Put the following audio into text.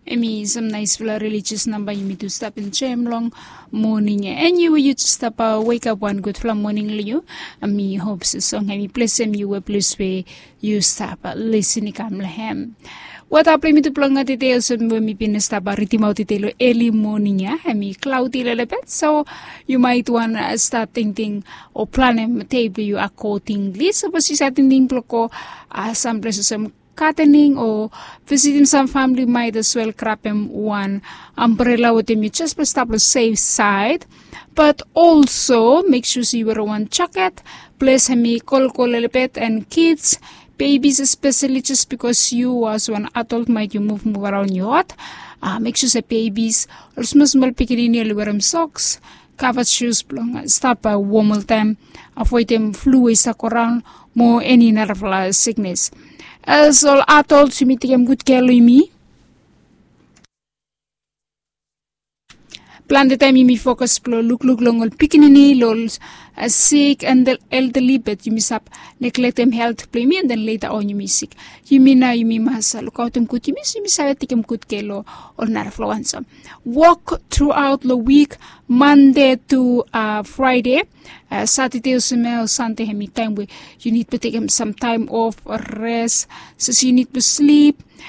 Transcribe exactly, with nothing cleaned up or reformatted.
Em i sam naispela religious namba yumi tu stap enjoim long moning ya. And yu we yu stap wekap wan gudpela moning long yu. Mi hop se song em i blesem yu we ples we yu stap lisin i kam long hem. Weta blong mitupela long tete olsem we mi bin stap ridimaot tete long eli moning ya, em i klauti lelebet, so yu mait wan stat tingting o planem dei blong yu akodingli. Sapos yu save tingting blong go samples olsem gadening o visitim sam famili, mait as wel grabem wan ambrela wetem yu jes blong stap long sef saed. Bat olso mek sua se yu werim wan jaket, ples hem i kolkol lelebet, and kids, bebis espeseli, jes bikos yu as wan adult mait yu muvmuv araon yu hot. Mek sua se bebis ol smosmol pikinini oli werim soks, kavat shus blong stap wom oltaem, avoedem flu we i save go raon, mo eni narafala siknes. As ol adult yumi tekem gud kea long yumi. Plante taem yumi fokas blong lukluk long ol pikinini, long ol sik and elderly, bat yumi save neglektem helt blong yumi, and then leta on yumi sik. Yumi nao yumi mas lukaotem gud yumi, so yumi save tekem gud kea long ol narafala wan. So wok truaot long wik, mande tu fraede. Satade olsem ya o sande hem i taem we yu nid blong tekem sam taem of res, sapos yu nid blong slip,